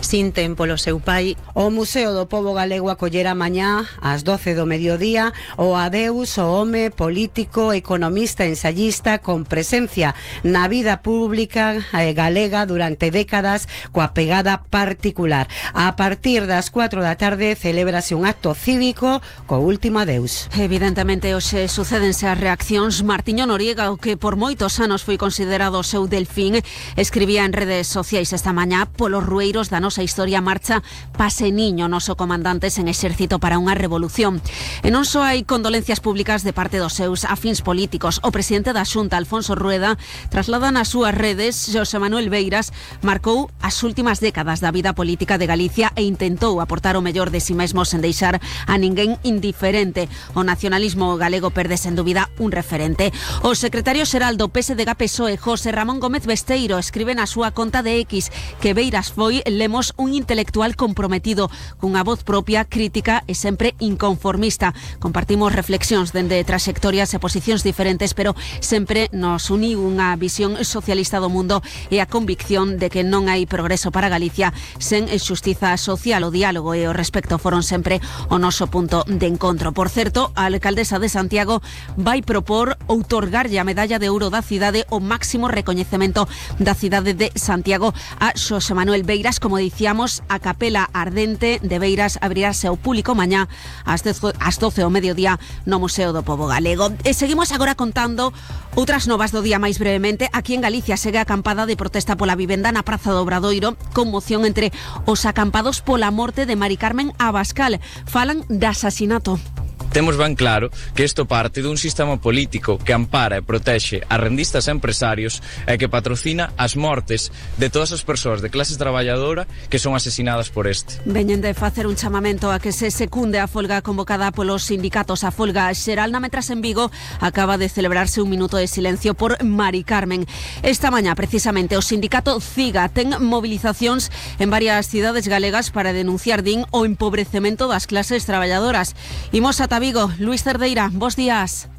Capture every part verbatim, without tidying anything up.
sinten polo seu pai. O Museo do Pobo Galego acollera mañá ás doce do mediodía o adeus o home político, economista, ensayista con presencia na vida pública eh, galega durante décadas coa pegada particular. A partir das cuatro da tarde celébrase un acto cívico co último adeus. Evidentemente hoxe sucédense as reaccións. Martiño Noriega, o que por moitos anos foi considerado o seu delfín, escribía en redes sociais esta mañá: polos rueiros da nosa historia marcha Pase Niño, noso comandante sen exército para unha revolución. E non só hai condolencias públicas de parte dos seus afíns políticos. O presidente da Xunta, Alfonso Rueda, traslada nas súas redes: Xosé Manuel Beiras marcou as últimas décadas da vida política de Galicia e intentou aportar o mellor de si mesmo sen deixar a ninguén indiferente. O nacionalismo galego perde sen dúbida un referente. O secretario xeral do P S D G P S O E, José Ramón Gómez Besteiro, escribe na súa conta de X que Beiras foi, lemos, un intelectual comprometido, cunha voz propia, crítica e sempre inconformista. Compartimos reflexións dende traxectorias e posicións diferentes, pero sempre nos uniu unha visión socialista do mundo e a convicción de que non hai progreso para Galicia sen xustiza social. O diálogo e o respecto foron sempre o noso punto de encontro. Por certo, a alcaldesa de Santiago vai propor outorgarlle a medalla de ouro da cidade, o máximo recoñecemento da cidade de Santiago, a Xosé Manuel Beiras. Como dicíamos, a Capela Ardente de Beiras abrirase ao público mañá ás doce ao mediodía no Museo do Pobo Galego. E seguimos agora contando outras novas do día máis brevemente. Aquí en Galicia segue a acampada de protesta pola vivenda na Praza do Obradoiro, con moción entre os acampados pola morte de Mari Carmen Abascal. Falan de asasinato. Temos ben claro que isto parte dun sistema político que ampara e protexe a rendistas e empresarios e que patrocina as mortes de todas as persoas de clase traballadora que son asesinadas por este. Veñen de facer un chamamento a que se secunde a folga convocada polos sindicatos. A folga xeral na Metras en Vigo acaba de celebrarse un minuto de silencio por Mari Carmen. Esta mañá, precisamente, o sindicato CIGA ten movilizacións en varias cidades galegas para denunciar, din, o empobrecemento das clases traballadoras. Imos ata Vigo. Luis Cerdeira, bos días.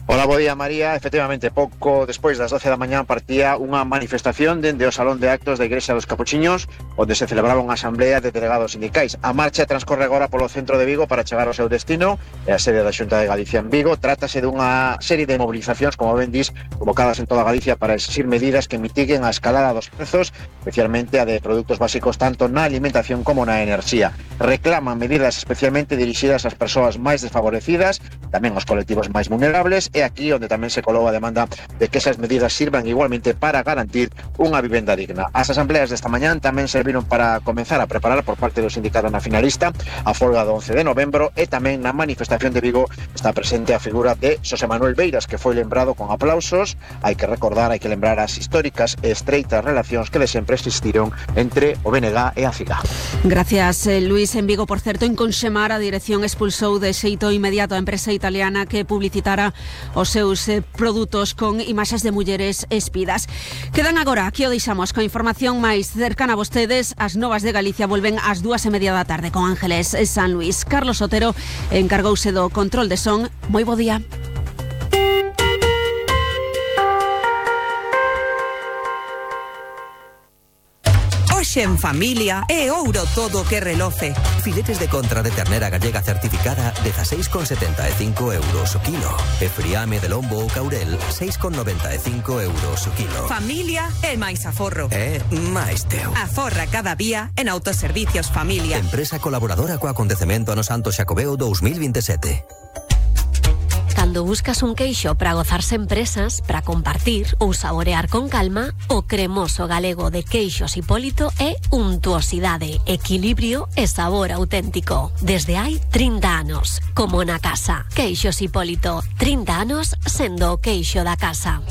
Hola, bo día, María. Efectivamente, pouco despois das doce da mañá partía unha manifestación dende o Salón de Actos da Igrexa dos Capuchiños, onde se celebraba unha asamblea de delegados sindicais. A marcha transcorre agora polo centro de Vigo para chegar ao seu destino, e a sede da Xunta de Galicia en Vigo. Trátase dunha serie de movilizacións, como ben dis, convocadas en toda Galicia para exigir medidas que mitiguen a escalada dos prezos, especialmente a de produtos básicos tanto na alimentación como na enerxía. Reclaman medidas especialmente dirixidas ás persoas máis desfavorecidas, tamén aos colectivos máis vulnerables, e aquí onde tamén se colou a demanda de que esas medidas sirvan igualmente para garantir unha vivenda digna. As asambleas desta mañán tamén serviron para comenzar a preparar por parte do sindicato nacionalista a folga do once de novembro, e tamén na manifestación de Vigo está presente a figura de Xosé Manuel Beiras, que foi lembrado con aplausos. Hai que recordar, hai que lembrar as históricas e estreitas relacións que de sempre existiron entre o B N G e a CIGA. Gracias, Luis. En Vigo, por certo, en Conxemar, a dirección expulsou de xeito inmediato a empresa italiana que publicitara os seus eh, produtos con imaxes de mulleres espidas. Quedan agora, aquí o deixamos, con información máis cercana a vostedes. As novas de Galicia volven ás dúas e media da tarde con Ángeles San Luis. Carlos Otero encargouse do control de son. Moi bo día. En familia e ouro todo que reloce. Filetes de contra de ternera gallega certificada dezaseis con setenta e cinco euros o kilo. E friame de lombo ou caurel seis con noventa e cinco euros o kilo. Familia e máis aforro. E máis teu. Aforra cada día en Autoservicios Familia. Empresa colaboradora co acontecemento ano Santo Xacobeo dous mil veintisiete. Cando buscas un queixo para gozarse en presas, para compartir ou saborear con calma, o cremoso galego de Queixos Hipólito é untuosidade, equilibrio e sabor auténtico. Desde hai trinta anos, como na casa. Queixos Hipólito, trinta anos sendo o queixo da casa.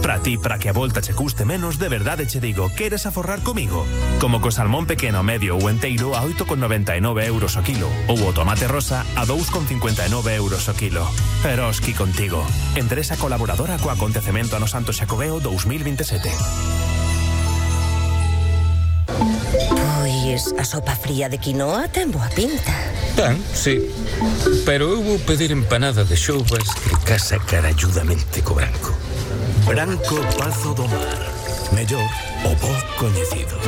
Para ti, para que a volta che custe menos, de verdade che digo, queres aforrar comigo? Como co salmón pequeno, medio ou enteiro a oito con noventa e nove euros o kilo, ou o tomate rosa a dous con cincuenta e nove euros o kilo. Eroski contigo. Empresa colaboradora co acontecemento ano Santo Xacobeo dous mil veintisiete. Pois a sopa fría de quinoa ten boa pinta. Ten, sí. Pero eu vou pedir empanada de xoubas que casa caralludamente co branco. Branco Pazo do Mar. Mellor o bo coñecido.